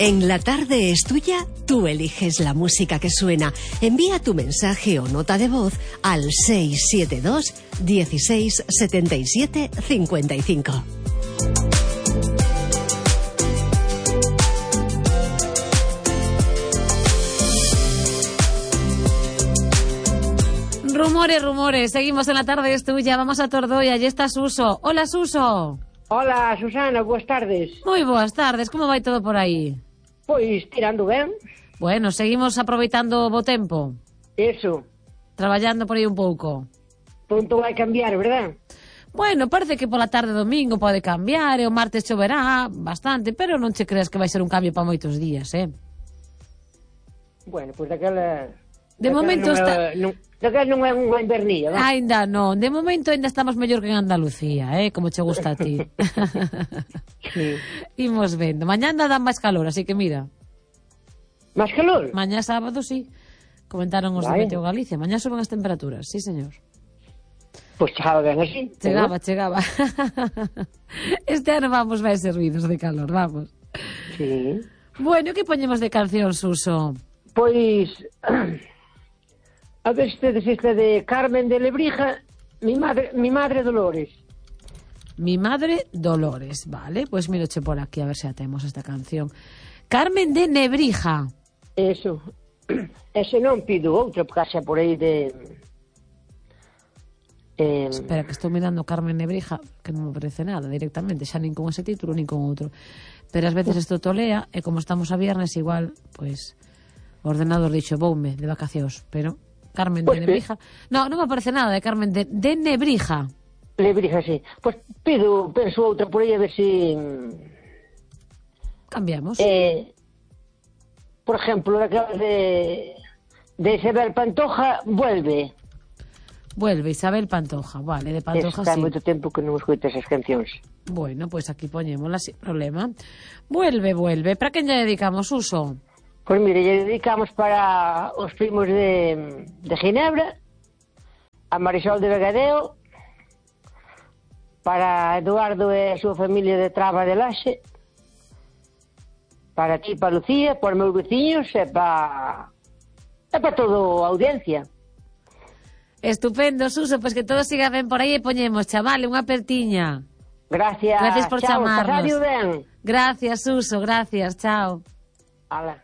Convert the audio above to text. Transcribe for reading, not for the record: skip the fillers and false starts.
En La Tarde es Tuya, tú eliges la música que suena. Envía tu mensaje o nota de voz al 672 16 77 55. Rumores. Seguimos en La Tarde es Tuya. Vamos a Tordoia. Allí está Suso. Hola, Suso. Hola, Susana, boas tardes. Moi boas tardes. Como vai todo por aí? Pois, tirando ben. Bueno, seguimos aproveitando o bo tempo. Eso. Traballando por aí un pouco. Pronto vai cambiar, verdad? Bueno, parece que pola tarde domingo pode cambiar e o martes choverá bastante, pero non che creas que vai ser un cambio para moitos días, Bueno, pois daquela... De momento está... Daquela non é unha invernilla, non? Ainda non, de momento ainda estamos mellor que en Andalucía, como che gusta a ti. Sí. Imos vendo. Mañá anda dan máis calor, así que mira. Máis calor? Mañá sábado, sí. Comentaron os de Vai. Meteo Galicia. Mañá suben as temperaturas, sí, señor. Pois chegaba ben así. Chegaba. Este ano vamos máis servidos de calor, vamos. Sí. Bueno, que poñemos de canción, Suso? Pois... A ver se tedes esta de Carmen de Lebrija, mi madre Dolores. Mi madre Dolores, vale. Pois miroche por aquí a ver se atemos esta canción. Carmen de Nebrija. Eso. Ese non pido outra, porque xa por aí de... Espera, que estou mirando Carmen Nebrija, que non me parece nada directamente, xa nin con ese título nin con outro. Pero ás veces isto tolea, e como estamos a viernes, igual, pois, o ordenador dixo, voume de vacacións, pero Carmen de Nebrija... Non me parece nada de Carmen de Nebrija. Lebrija, sí. Pois penso outra por aí a ver se... Cambiamos. Por exemplo, daquela de Isabel Pantoja, Vuelve. Vuelve, Isabel Pantoja, vale, de Pantoja Está sí. moito tempo que non escoito esas cancións. Bueno, pois aquí poñémola sin problema. Vuelve. Para quen lle dedicamos, Uso? Pois mire, lle dedicamos para os primos de Ginebra, a Marisol de Vegadeo, para Eduardo e a súa familia de Traba de Laxe, para ti, para Lucía, para os meus veciños e para toda a audiencia. Estupendo, Suso, pois que todo siga ben por aí e poñemos, chaval, unha apertiña. Gracias. Gracias por chao, chamarnos. pasadio ben. Gracias, Suso, gracias, chao. Ala.